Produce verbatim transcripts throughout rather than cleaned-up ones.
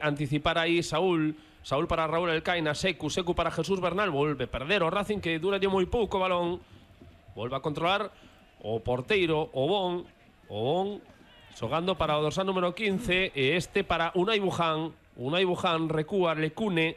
anticipar aí Saúl, Saúl para Raúl Elcaina, Secu, Secu para Jesús Bernal, volve perder o Racing que dura moi pouco o balón, volve a controlar o porteiro, o Bon, o Bon, xogando para o dorsal número quince, e este para Unai Buján, Unai Buján recúa, Lecune,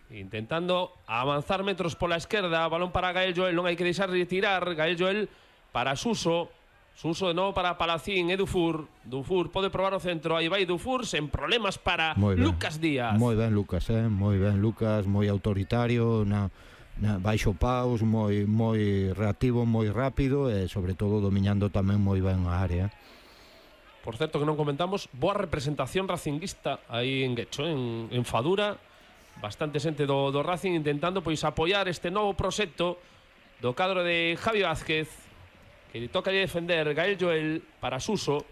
intentando avanzar metros pola esquerda, balón para Gael Joel, non hai que deixar de tirar, Gael Joel para Suso, Suso de novo para Palacín, e Dufour, Dufour pode probar o centro, aí vai Dufour, sen problemas para Lucas Díaz. Moi ben Lucas, eh? moi ben Lucas, moi autoritario, na, na baixo paus, moi moi reactivo, moi rápido e sobre todo dominando tamén moi ben a área. Por certo que non comentamos, boa representación racinguista aí en Guecho, en, en Fadura, bastante xente do, do Racing intentando pois apoiar este novo proxecto do cadro de Javi Vázquez, que le toca defender Gael Joel para Suso,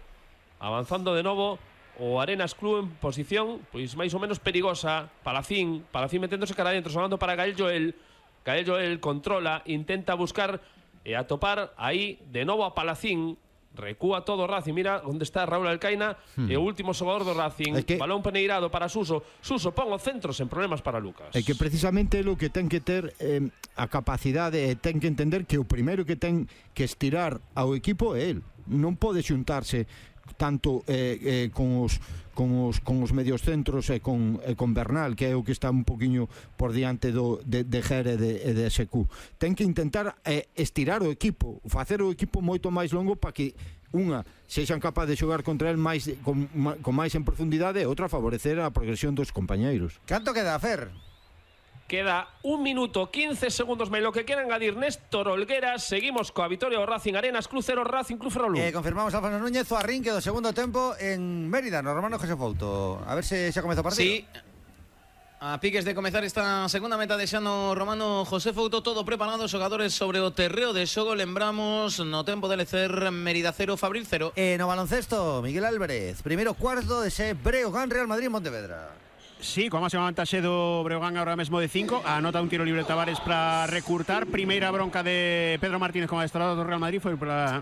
avanzando de novo o Arenas Club en posición pois máis ou menos perigosa. Palacín, Palacín meténdose cara adentro, sonando para Gael Joel, Gael Joel controla, intenta buscar e atopar aí de novo a Palacín, recúa todo o Racing, mira onde está Raúl Alcaina, hmm. e o último xogador do Racing, que... balón peneirado para Suso, Suso pon o centro sen problemas para Lucas. É que precisamente o que ten que ter eh, a capacidade, e ten que entender que o primeiro que ten que estirar ao equipo é el, non pode xuntarse tanto eh, eh, con os con os con os medios centros e con e con Bernal, que é o que está un poquiño por diante do de de Jere e de, de S Q. Ten que intentar eh, estirar o equipo, facer o equipo moito máis longo para que unha sexan capaz de xogar contra el máis con, con máis en profundidade e outra favorecer a progresión dos compañeiros. Canto queda, Fer? Queda un minuto, quince segundos máis. Lo que quieran engadir Néstor Olgueras. Seguimos coa vitoria do Racing. Arenas Club cero, Racing Club Ferrolú. Eh, confirmamos Alfonso Núñez o arrinque do segundo tempo en Mérida, no Romano José Fouto. A ver se xa comeza o partido. Sí. A piques de comezar esta segunda meta de xa no Romano José Fouto, todo preparado, xogadores sobre o terreo de xogo. Lembramos no tempo de lecer Mérida cero, Fabril cero. Eh, no baloncesto, Miguel Álvarez, primeiro cuarto de ese Breogán Real Madrid Montevedra. Sí, con máxima vantaxe do Breogán ahora mesmo de cinco. Anota un tiro libre Tavares para recurtar. Primeira bronca de Pedro Martínez como adestrador do Real Madrid foi para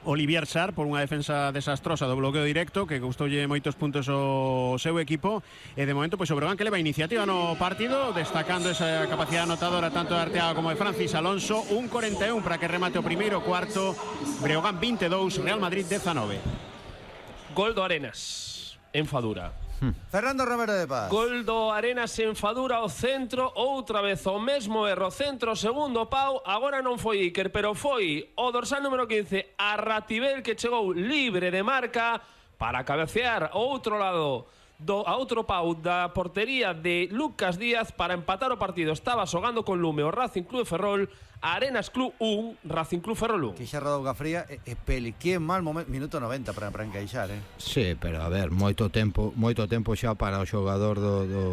Olivier Sarr por unha defensa desastrosa do bloqueo directo que custoulle moitos puntos ao seu equipo, e de momento pois o Breogán que leva iniciativa no partido, destacando esa capacidade anotadora tanto de Arteaga como de Francis Alonso. Un cuarenta e un para que remate o primeiro cuarto. Breogán veintidós, Real Madrid dezanove. Gol do Arenas en Fadura. Hmm. Fernando Romero de Paz. Gol do Arenas en Fadura ao centro, outra vez o mesmo erro, centro, segundo pau. Agora non foi Iker, pero foi o dorsal número quince, Arratibel, que chegou libre de marca para cabecear ao outro lado do, a outro pau da portería de Lucas Díaz para empatar o partido. Estaba xogando con lume o Racing Club de Ferrol. Arenas Club un, Racing Club Ferrol un. Que xa rodou Gafría e, e Peli, que mal momento, minuto noventa para, para encaixar, eh? Sí, pero a ver, moito tempo moito tempo xa para o xogador do, do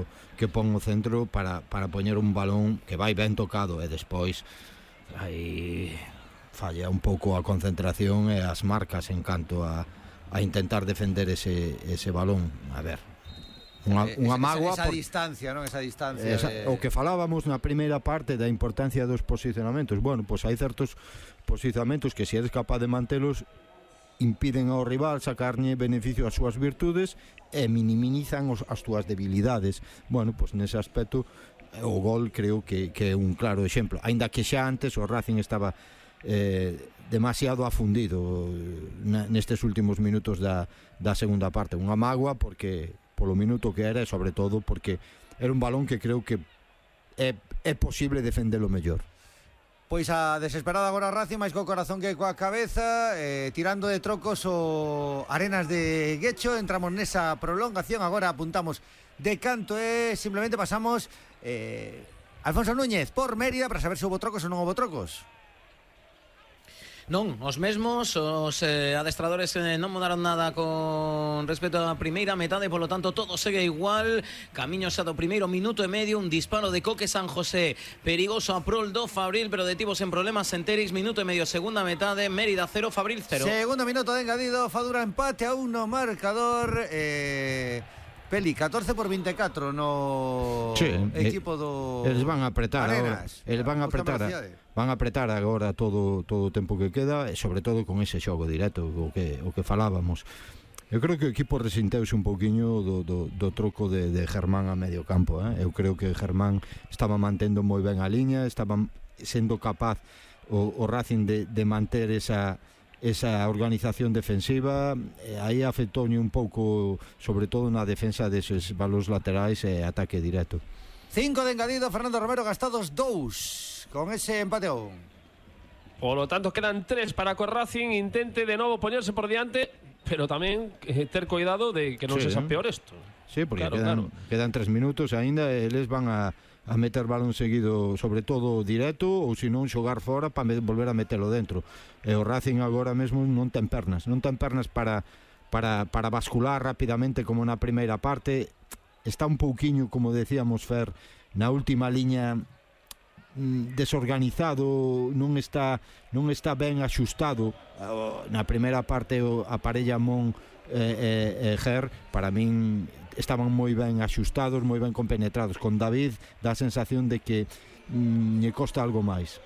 que pon o centro para, para poñer un balón que vai ben tocado, e despois aí falla un pouco a concentración e as marcas en canto a, a intentar defender ese, ese balón. A ver, Unha, unha mágoa esa, esa por... distancia, non? Esa distancia esa, de... O que falábamos na primeira parte da importancia dos posicionamentos. Bueno, pois hai certos posicionamentos que se eres capaz de mantelos impiden ao rival sacarlle beneficio ás súas virtudes e minimizan os, as túas debilidades. Bueno, pois nese aspecto o gol creo que, que é un claro exemplo, aínda que xa antes o Racing estaba eh, demasiado afundido nestes últimos minutos da, da segunda parte. Unha mágoa porque polo minuto que era e sobre todo porque era un balón que creo que é, é posible defendelo mellor. Pois a desesperada agora Racing, máis co corazón que coa cabeza, eh, tirando de trocos o Arenas de Guecho. Entramos nesa prolongación, agora apuntamos de canto e simplemente pasamos eh, Alfonso Núñez por Mérida para saber se houve trocos ou non houve trocos. Non, os mesmos, os eh, adestradores eh, non mudaron nada con respecto á primeira metade, polo tanto todo segue igual. Camiño xa do primeiro minuto e medio, un disparo de Coque San José perigoso a prol do Fabril, pero detivos en problemas Enteris. Minuto e medio, segunda metade, Mérida cero, Fabril cero. Segundo minuto de engadido, Fadura empate a uno marcador. eh... Peli, catorce por veinticuatro no sí, equipo do eles van a apretar Arenas, agora, eles van a apretar a, van a apretar agora todo todo o tempo que queda, e sobre todo con ese xogo directo o que o que falábamos. Eu creo que o equipo resinteuse un pouquiño do, do, do troco de, de Germán a medio campo, eh? Eu creo que Germán estaba mantendo moi ben a liña, estaba sendo capaz o, o Racing de, de manter esa esa organización defensiva, e aí afectoulle un pouco, sobre todo na defensa deses balóns laterais e ataque directo. Cinco de engadido, Fernando Romero, gastados dous con ese empate a un. Por lo tanto, quedan tres para que o Racing intente de novo poñerse por diante, pero tamén eh, ter cuidado de que non Sí, se xa ¿eh? peor isto. Sí, porque Claro, quedan, claro. quedan tres minutos aínda e eles van a, a meter balón seguido, sobre todo directo, ou se non xogar fora para me, volver a metelo dentro. E o Racing agora mesmo non ten pernas, non ten pernas para, para, para bascular rapidamente como na primeira parte. Está un pouquiño, como decíamos, Fer, na última liña desorganizado, non está non está ben axustado. Na primeira parte a parella Mon e, e, e Ger, para min estaban moi ben axustados, moi ben compenetrados. Con David dá a sensación de que mm, lle costa algo máis.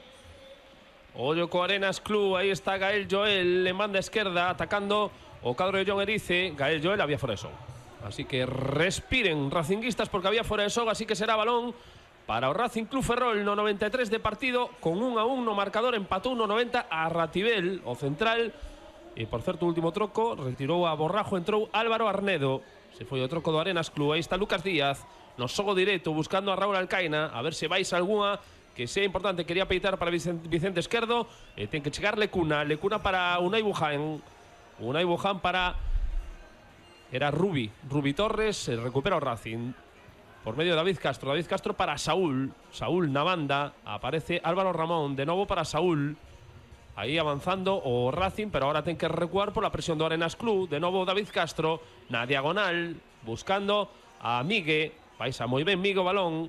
Ollo co Arenas Club, aí está Gael Joel, le manda a esquerda, atacando o cadro de John Erice. Gael Joel había fora de xogo, así que respiren racinguistas, porque había fora de xogo, así que será balón para o Racing Club Ferrol no noventa e tres de partido, con un a un no marcador, empatou no noventa a Ratibel, o central. E, por certo, o último troco, retirou a Borrajo, entrou Álvaro Arnedo. Se foi o troco do Arenas Club. Aí está Lucas Díaz, no xogo directo, buscando a Raúl Alcaina, a ver se vais algunha que sea importante. Quería peitar para Vicente Esquerdo, e ten que chegar Lecuna. Lecuna para Unai Buján. Unai Buján para... Era Rubi. Rubi Torres, recupera o Racing. Por medio de David Castro, David Castro para Saúl, Saúl na banda, aparece Álvaro Ramón, de novo para Saúl, aí avanzando o Racing, pero ahora ten que recuar por la presión do Arenas Club, de novo David Castro, na diagonal, buscando a Migue, paisa moi ben Migue o balón,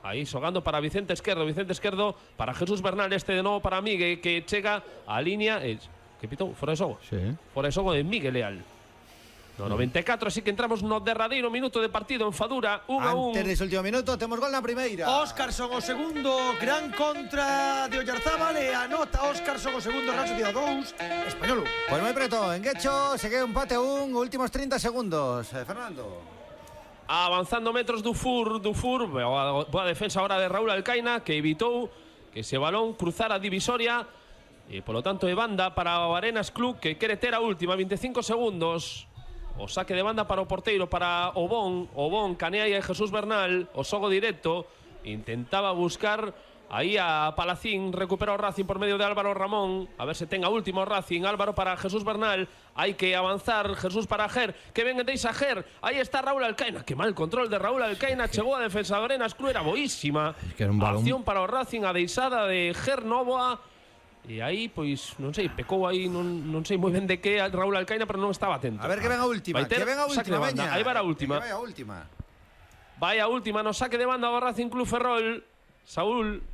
aí xogando para Vicente Esquerdo, Vicente Esquerdo para Jesús Bernal, este de novo para Migue, que chega a línea, eh, que pitou, fora de xogo, Sí. fora de xogo de Migue Leal. No noventa e catro, así que entramos no derradeiro minuto de partido en Fadura, un a un. Antes dese último minuto, temos gol na primeira. Óscarson o segundo, gran contra de Oyarzábal e anota Óscarson o segundo, Real Sociedad dous, Español un. Pois moi preto, en Guecho, segue un empate a un, últimos trinta segundos. Eh, Fernando. Avanzando metros do Fur, do Fur, boa, boa defensa ahora de Raúl Alcaina, que evitou que ese balón cruzara a divisoria, e polo tanto de banda para o Arenas Club, que quere ter a última, vinte e cinco segundos. O saque de banda para o porteiro, para o Bon, o Bon, canea aí a Jesús Bernal, o xogo directo, intentaba buscar aí a Palacín, recupera o Racing por medio de Álvaro Ramón, a ver se ten a última o Racing, Álvaro para Jesús Bernal, hai que avanzar, Jesús para Ger, que ven deixa Ger, aí está Raúl Alcaina, que mal control de Raúl Alcaina, chegou a defensa de Arenas Club, era boísima, Es que era un balón. acción para o Racing, a deixada de Ger Novoa. E aí, pois, non sei, pecou aí, non, non sei moi ben de que Raúl Alcaina, pero non estaba atento. A ver que ven a última, Vai ter que ven a saque de última, banda. veña. Aí vai a última. Que vai a última. Vai a última no saque de banda do Racing Club Ferrol. Saúl,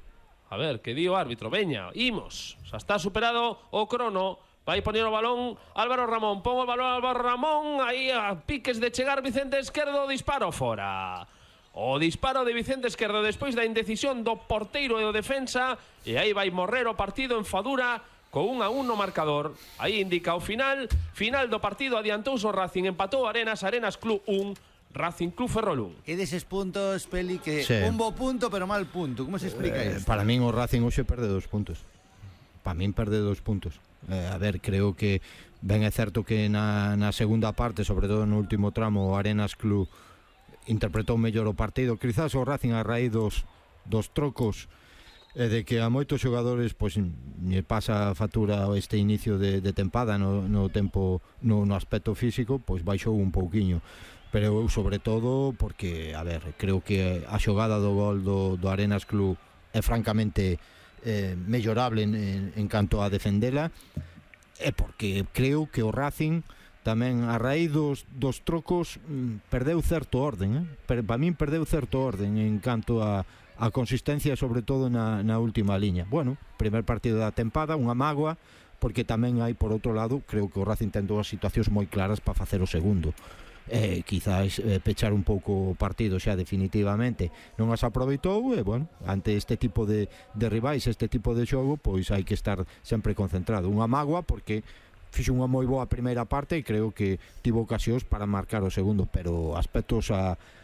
a ver, que di o árbitro, veña, imos. Xa está superado o crono. Vai poñer o balón Álvaro Ramón, pon o balón Álvaro Ramón, aí a piques de chegar Vicente Esquerdo, disparo fora. O disparo de Vicente Esquerdo despois da indecisión do porteiro e do defensa, e aí vai morrer o partido en Fadura con un a un no marcador. Aí indica o final, final do partido, adiantouse o Racing, empatou Arenas, Arenas Club un, Racing Club Ferrol un. E deses puntos, Peli, que Sí. un bo punto, pero mal punto. Como se explica Eh, isto? para min o Racing hoxe perde dos puntos. Para min perde dos puntos. Eh, a ver, creo que ben é certo que na, na segunda parte, sobre todo no último tramo, o Arenas Club interpretou mellor o partido. Quizás o Racing a raíz dos, dos trocos e de que a moitos xogadores pois lle pasa a factura este inicio de, de tempada no, no tempo no, no aspecto físico, pois baixou un pouquiño. Pero eu sobre todo porque, a ver, creo que a xogada do gol do, do Arenas Club é francamente eh, mellorable en, en, en canto a defendela, e porque creo que o Racing tamén a raíz dos, dos trocos mm, perdeu certo orden, eh? Per, para min perdeu certo orden en canto a, a consistencia, sobre todo na, na última liña. Bueno, primer partido da tempada, unha mágoa, porque tamén hai, por outro lado, creo que o Racing ten dúas situacións moi claras para facer o segundo. Eh, quizás eh, pechar un pouco o partido xa definitivamente non as aproveitou, e bueno, ante este tipo de, de rivais, este tipo de xogo, pois hai que estar sempre concentrado. Unha mágoa porque fixo unha moi boa primeira parte e creo que tivo ocasións para marcar o segundo, pero aspectos a